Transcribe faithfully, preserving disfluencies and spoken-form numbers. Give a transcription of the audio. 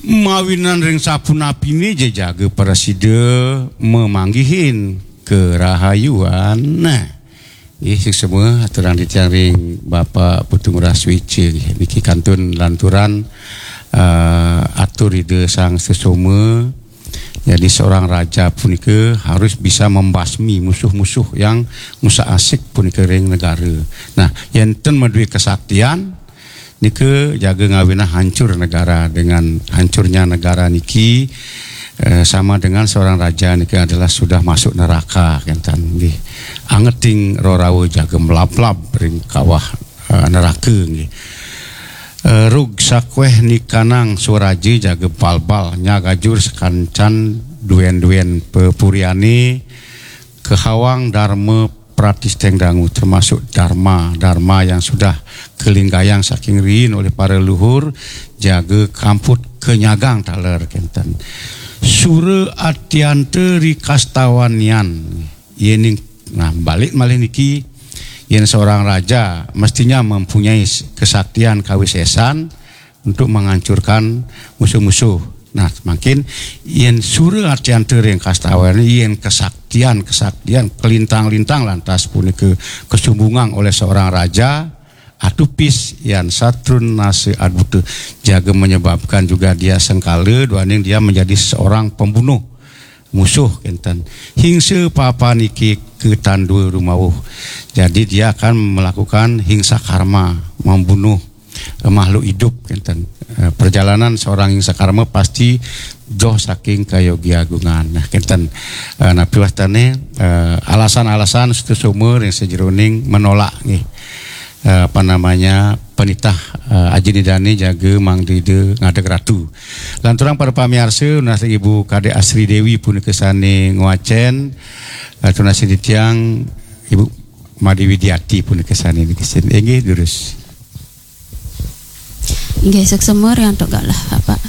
Mawinan ring sapunapiné ja jaga prasida mamanggihin karahayuan. Nah, nggih, suksma aturang titiang ring Bapak Putu Ngurah Swéca nggih. Niki kantun lanturan, eh, atur Ida Sang Sesoma. Jadi seorang raja punika harus bisa membasmi musuh-musuh yang ngusak-asik punika ring negara. Nah, yén ten madué kesaktian, nika jaga ngawinang hancur negara. Dengan hancurnya negara niki, eh, sama dengan seorang raja niki adalah sudah masuk neraka, kénten nggih. Angeting rarawa jaga mlablab ring kawah, eh, neraka nggih. Eh, rug sakwéh nikanang swaraja jaga balbal, nyagajur sakancan duén-duén pepuriané, kahawang darma pratisténg dangu, termasuk darma, darma yang sudah kalinggayang saking riin oleh para luhur, jaga kamput kanyagang taler, kénten. Sura atyanta ri kastawan yan. Yéning, nah, balik malih niki, yén seorang raja mestinya mempunyai s-, kesaktian kawisésan untuk menghancurkan musuh-musuh. Nah, mangkin yén sura atyanta ring kastawan, yén kesaktian-kesaktian kalintang-lintang lantas punika kasumbungang oleh seorang raja, atupis yan satrun nasa adbuta, jaga menyebabkan juga dia sengkala, duaning dia menjadi seorang pembunuh musuh, kénten. Hingsa papa niki katandua rumawuh. Jadi dia akan melakukan hingsa karma, membunuh, eh, makhluk hidup, kénten. Eh, perjalanan seorang hingsa karma pasti doh saking kayogi agungan. Nah, kénten. Eh, napi wastané, eh, alasan-alasan Sutasoma ring sajeroning menolak nggih. Eh, apa namanya, penitah, eh, Aji Nidané jaga mangda Ida ngadeg ratu. Lanturang para pamiarsa, nunas Ibu Kadék Asri Déwi punika sané ngwacén, eh, tunas titiang Ibu Madé Widiati punika sané niki sin. Inggih, durus. Inggih, suksma ri antuk galah, Bapak.